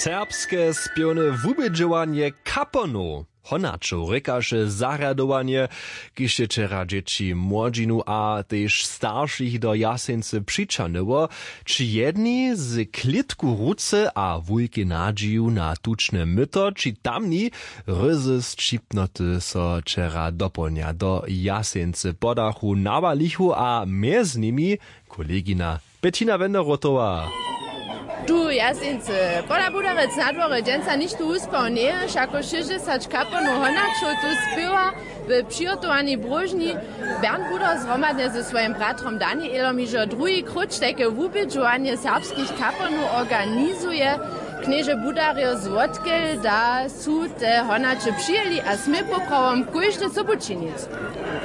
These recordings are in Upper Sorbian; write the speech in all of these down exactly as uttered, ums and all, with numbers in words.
Serbske spěwne wubědźowanje kaponow honaćow rěkaše zarjadowanje, kiž je wčera dźěći młodźinu a tež staršich do Jaseńcy přićahnyło. Ći jedni z klětku w ruce a wulkej nadźiju na tučne myto, ći tamni ryzy sćipnoty so wčera dopołdnja do Jaseńcy podachu nawalichu a mjez nimi kolegina Bettina Wenderotowa. Tu w Jaseńcy pola Budarec na dworje dźensa nichtó wuspał njeje, wšako šěsćdźesać kaponow honaćow tu spěwa w přihotowanej bróžni. Bernd Buder zhromadnje ze swojim bratrom Danielom hižo druhi króć tajke wubědźowanje serbskich kaponow organizuje. Knježe Budarjo, zwotkel da su te honaće přijěli a smě poprawom kóžde sobu činić?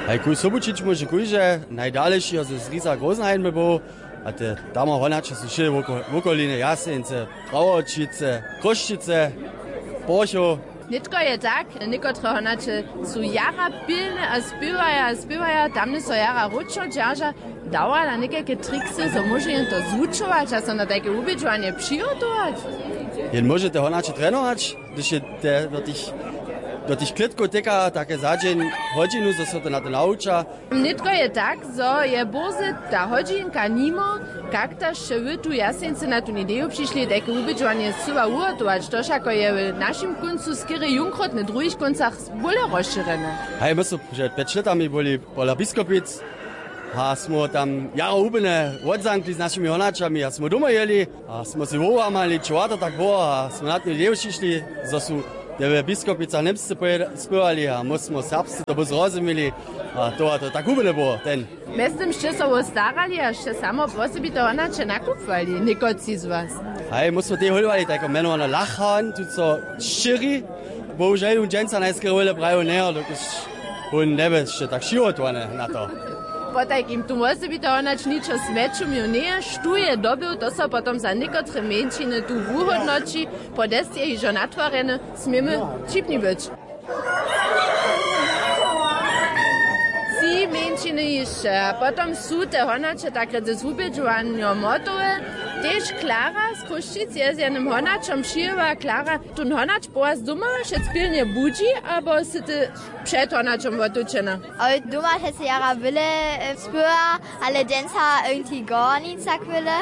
Haj, kóž sobu čić móže kóžde, najdalejši je z Riza Großenhain był, a te tamo honaće su wšě woko-, wokolinje Jaseńce, Prawoćice, Chrósćice, Porchow. Nětko je tak, někotre honaće su jara pilne a spěwaja a spěwaja, tamne so jara wróćno dźerža. Dawa da někajke triksy, zo móže jen to zwučować a so na tajke wubědźowanje přihotować? Jen móže te honaće trenować, hdyž je te do tych, do tych klětkow teka, take za dźeń hodźinu, zo so to na to nawuča. Nětko je tak, zo je bórze ta hodźinka nimo, kak da sće wy tu w Jaseńcy na tu ideju přišli, tajke wubědźowanje scyła wuhotować? To wšako je w našim kóncu skerje jónkrótnje, w druhich kóncach bóle rozšěrjene. Haj, my su před pjeć lětami byli pola Biskopic a smy tam jara hubjene wotzamkli z našimi honaćami a smy domoj jěli a smy sej wołamali, čowato tak było, a smy na tu ideju přišli, zo su te w Biskopicach Němsce pojeda-, spěwali a my smy serbsce to by zrozumili. A to, a to tak hubjene było ten. Mjeztym sće so wo starali a sće samo wosebite honaće nakupowali někotři z was? Haj, my smy tej hólowali tajko mjenowane Lachan, tu so šěri. Bohužel wón dźensa najskerje wjele prajił njejo, dokelž wón njebě sće tak přihotowany na to. Potajkim tu wosebite honać ničo smjeću měł njeje, štó je dobył, to so potom za někotre mjeńšiny tu wuhódnoći. Podest je hižo natwarjeny, směmy wćipni być. Tři mjeńšiny hišće a potom su te honaće tak rěce z wubědźowanjom hotowe. Tež Klara z Chrósćic je z jednym honaćom přijěła. Klara, tón honać po was doma wšec pilnje budźi, abo sy ty před honaćom wotučena? Oj, doma přeco jara wjele, e, spěwa, ale dźensa irgendwie gar nic tak wjele.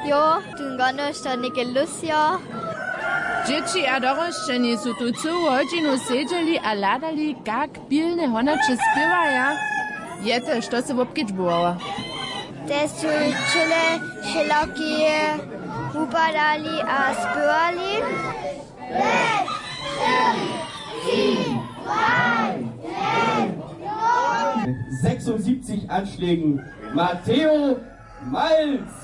Jo, tón gonoš to něke lus jo. Dźěći a dorosćeni su tu cyłu hodźinu sedźeli a hladali, kak pilne honaće spěwaja. Je to, što sy wobkedźbowała? Te su čyle wšelaki wupadali a spěwali. Sechsundsiebzig Anschlägen Matteo Malz.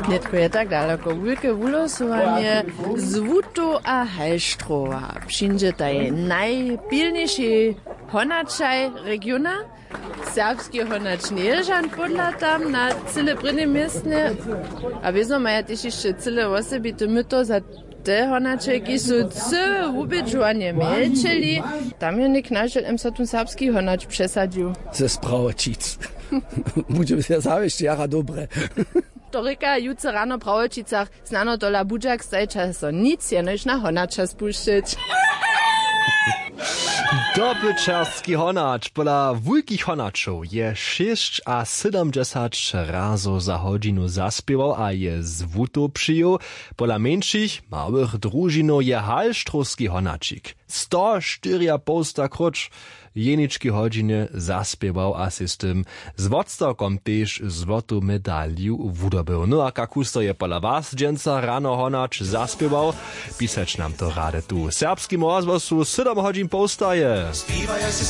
Nětko je tak daloko. Wulke wulosowanje z Wutow a Halštrowa. Přińdźetaj najpilniši honaćaj regiona. Serbski honać njeje žan podla tam na cyle prěnim městnje. A wězo maja tež hišće cyle wosebite myto za te honaće, kiž su cyłe wubědźowanje mjelčeli. Tam je něk nažel M so tón serbski honać přesadźił. Ze Sprawoćic. Budźe ja zawěsć jara dobre. To rěka jutře rano w Prawoćicach. Snano tola budźak stajća so nic, jenož na honaća spušćeć. Dobyćerski honać pola wulkich honaćow je šěsćasydomdźesać razow za hodźinu zaspěwał a je z Wutow přijěł. Pola mjeńšich, małych družinow je halštrowski honaćik sto štyriapołsta króć w jenički hodźinje zaspěwał a sej z tym z wotstawkom tež złotu medaliju wudobył. No a kak husto je pola was dźensa rano honać zaspěwał? Pisać nam to rady tu w Serbskim rozhłosu, sydom hodźin połstaje. Spiewaj, ja se